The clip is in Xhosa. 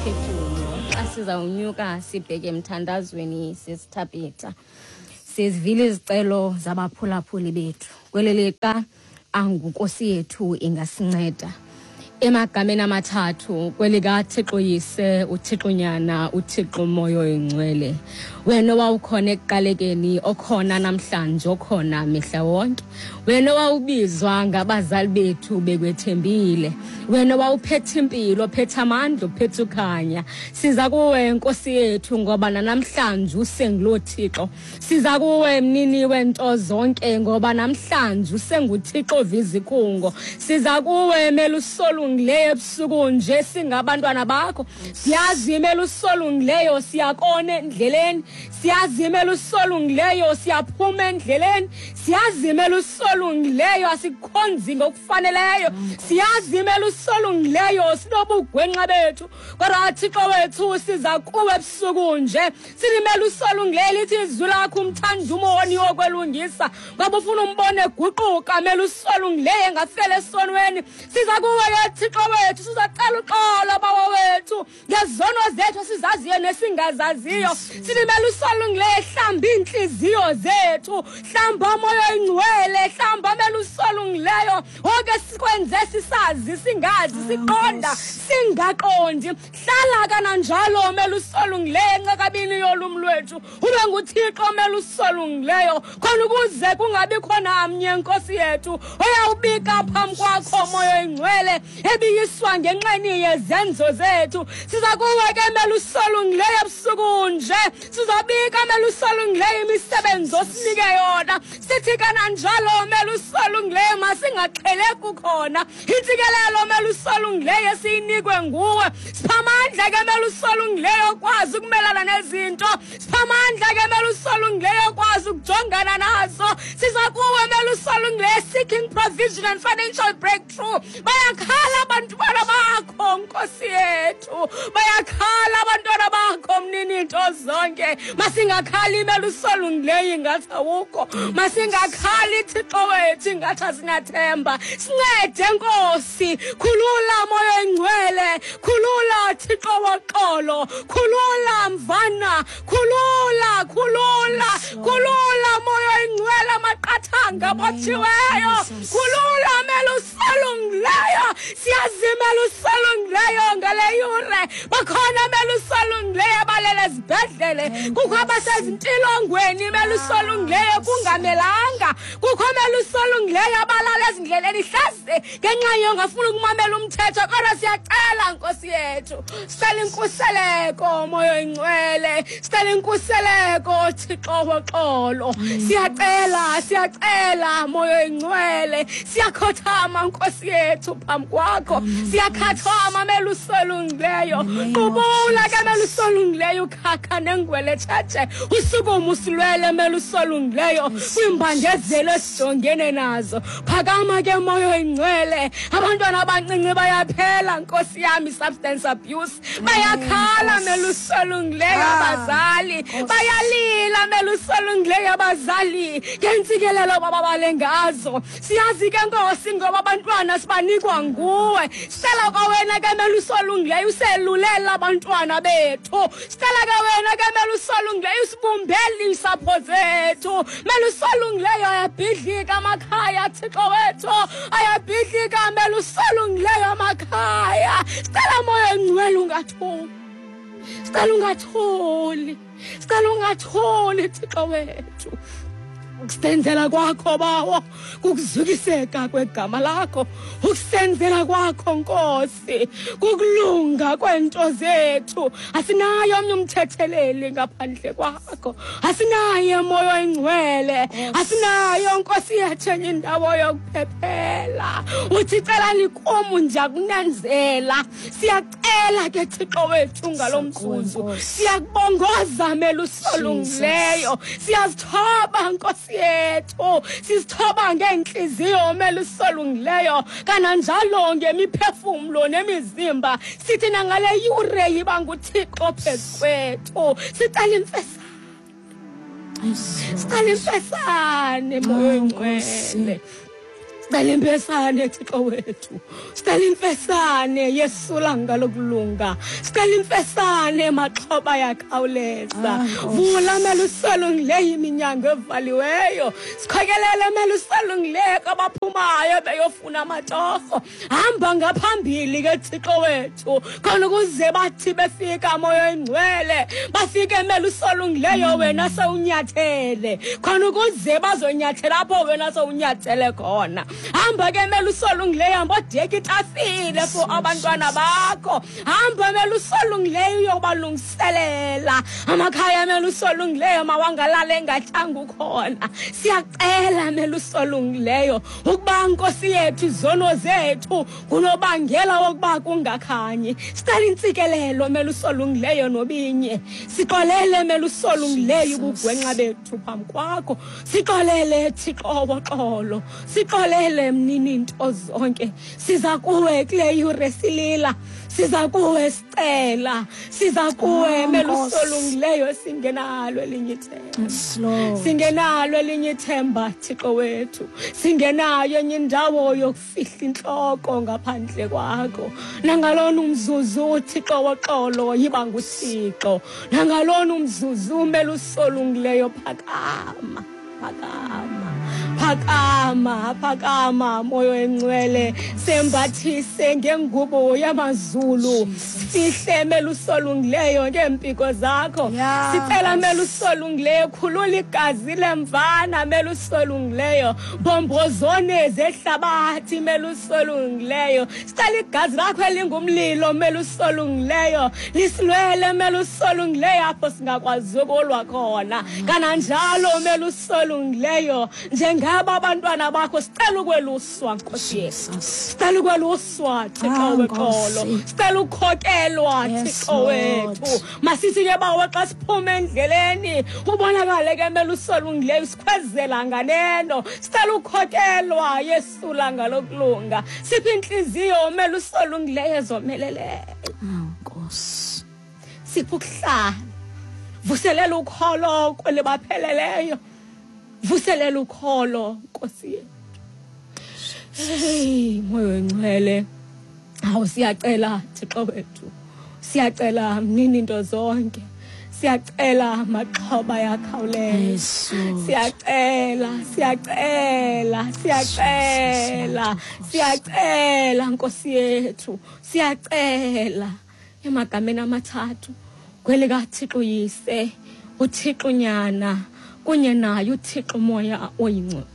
umphefumlo xa sizawunyuka sibheke emthandazweni sisithabitha. Sizivile izicelo zabaphulaphuli bethu. Kweli lixa anguNkosi yethu ingasinceda. Emagameni amathathu kwelikaThixo Yise, uThixo Nyana, uThixo Moya Oyingcwele. Wena owawukhona ekuqalekeni, okhona namhlanje, okhona mihla wonke. Wena owawubizwa ngabazali bethu bekwethembile. Wena owawuphethe impilo, ophethe amandla, ophethe ukhanya. Siza kuwe Nkosi yethu ngoba nanamhlanje usenguloo Thixo. Siza kuwe mnini wento zonke ngoba namhlanje usenguThixo ovizikhungo. Siza kuwe melusolungileyo ebusuku nje singabantwana bakho. Siyazi melusolungileyo siyakona endleleni. Siyazi melusolungileyo siyaphuma endleleni. Siyazi melusolungileyo asikhonzi ngokufaneleyo. Siyazi melusolungileyo sinobugwenxa bethu. Kodwa Thixo wethu siza kuwe ebusuku nje. Silimele usolungileyo lithi izwi lakho umthanda umoni okwelungisa ngoba ufuna umbone eguquka mele usolungileyo engafela esonweni. Siza kuwe ke Thixo wethu sizacela uxolo Bawo wethu ngezono zethu esizaziyo nesingazaziyo. Silimele usolungileyo hlamba iintliziyo zethu, hlamba umoya oyingcwele, hlamba mele usolungileyo oke sikwenze sisazi singazi siqonda singaqondi. Hlala kananjalo melusolungileyo encakabini yolum lwethu, ube nguThixo melusolungileyo khona ukuze kungabikho namnye Nkosi yethu oyawubika phambi kwakho moya oyingcwele ebiyiswa ngenxeni yezenzo zethu. Siza kuwe ke melusolungileyo ebusuku nje, sizabika melusolungileyo imisebenzi osinike yona. Sithi kananjalo melusolungileyo masingaxheleki khona intsikelelo melusolungileyo esiyinikwe nguwe. Siphamandla ke melusolungileyo okwazi ukumelana nezinto, siphamandla ke melusolungileyo okwazi ukujongana nazo. Siza kuwe melusolungileyo seeking provision and financial breakthrough. Bayakhala abantwana bakho Nkosi yethu, bayakhala abantwana bakho mnini into zonke. Masingakhali melusolungileyo ingathi awukho, masingakhali Thixo wethu ingathi asinathemba. Sincede Nkosi, khulula moya oyingcwele, khulula Thixo woxolo, khulula mvana, khulula, khulula, khulula moya oyingcwele amaqathanga abotshiweyo, khulula melusolungileyo. Siyazima lusolungileyo ngale yure, bakhona melusolungileyo abalele ezibhedlele, kukho abasezintilongweni melusolungileyo kungamelanga, kukho melusolungileyo abalala ezindleleni hlase ngenxa yongafuni ukumamela umthetho. Kodwa siyacela Nkosi yethu, sicela inkuseleko moya oyingcwele, sicela inkuseleko Thixo woxolo. Siyacela, siyacela moya oyingcwele, siyakhothama Nkosi yethu phambi kwakho, siyakhathama melusolungileyo. Qubula ke melusolungileyo ukhakha nengwele tshetshe, usukume usilwele melusolungileyo kwiimbandezelo esijongene nazo. Phakama ke moya oyingcwele, abantwana abancinci bayaphela Nkosi yami, substance abuse. Bayakhala melusolungileyo abazali, bayalila melusolungileyo abazali ngentsikelelo bababale ngazo. Siyazi ke Nkosi ngoba abantwana sibanikwa nguwe. Sicela kwawena ke melusolungileyo uselulela abantwana bethu. Sicela ke wena ke melusolungileyo usibumbele iintsapho zethu. Melusolungileyo ayabhidlika amakhaya Thixo wethu, ayabhidlika melusolungileyo amakhaya. Sicela moya oyingcwele ungathuli, sicela ungathuli, sicela ungathuli Thixo wethu. Ukusenzela kwakho Bawo kukuzukiseka kwegama lakho, ukusenzela kwakho Nkosi kukulunga kwento zethu. Asinayo omnye umthetheleli ngaphandle kwakho, asinaye moya oyingcwele, asinayo Nkosi yethu enye indawo yokuphephela. Uthi celani kum ndiyakunenzela. Siyacela ke Thixo wethu ngalo mzuzu, siyakubongoza melusolungileyo, siyazithoba Nkosi yethu, sizithoba ngeentliziyo melusolungileyo, kananjalo ngemiphefumlo nemizimba. Sithi nangale yure yiba nguThixo phezu kwethu. Sicela imfesane, sicela imfesane moya oyingcwele. Sicela imfesane Thixo wethu, sicela imfesane Yesu langa lokulunga, sicela imfesane maxhoba yakhawuleza. Vula melusolungileyo iminyango evaliweyo, sikhokelele melusolungileyo kwabaphumayo beyofuna amatorho. Hamba ngaphambili ke Thixo wethu, khona ukuze bathi befika moya oyingcwele bafike melusolungileyo wena sewunyathele, khona ukuze bazonyathela apho wena sewunyathele khona. Hamba ke melusolungileyo, hamba odeka itafile for abantwana bakho. Hamba melusolungileyo uyobalungiselela amakhaya melusolungileyo, mawangalala engatyanga ukhona. Siyacela melusolungileyo ukuba Nkosi yethu izono zethu ngunobangela wokuba kungakhanyi. Sicela intsikelelo melusolungileyo nobinye, sixolele melusolungileyo ubugwenxa bethu phambi kwakho. Sixolele Thixo woxolo, sixolele mnini nto zonke. Siza kuwe kule yure silila, siza kuwe sicela, siza kuwe melusolungileyo singenalo elinye ithemba. Singenalo elinye ithemba Thixo wethu, singenayo enye indawo yokufihla intloko ngaphandle kwakho. Nangalona umzuzu Thixo woxolo yiba nguThixo, nangalona umzuzu melusolungileyo phakama, phakama, phakama, phakama moya oyingcwele, sembathise ngengubo yamazulu, sihle melusolungileyo ngeempiko zakho. Sicela melusolungileyo khulula igazi lemvana melusolungileyo, mbombozone zehlabathi melusolungileyo. Sicela igazi lakho elingumlilo melusolungileyo lisilwele melusolungileyo apho singakwazi ukulwa khona. Kananjalo melusolungileyo njengaba abantwana bakho sicela ukweluswa Nkosi Yesu, sicela ukweluswa Thixo wexolo, sicela ukukhokelwa Thixo wethu. Masithi ke bawo xa siphume endleleni ubonakale ke melusolungileyo sikhwezela nganeno. Sicela ukukhokelwa Yesu langa lokulunga, siphe intliziyo melusolungileyo ezomeleleyo. Nkosi, siphe ukuhlala, vuselela ukholo kwelibapheleleyo, vuselela ukholo Nkosi yethu. Hey moya oyingcwele, awu siyacela Thixo wethu, siyacela mnini into zonke, siyacela maxhoba yakhawuleza, siyacela, siyacela, siyacela, siyacela Nkosi yethu, siyacela emagameni amathathu kwelikaThixo Yise, uThixo Nyana kunye naye uThixo Moya oyingcwele.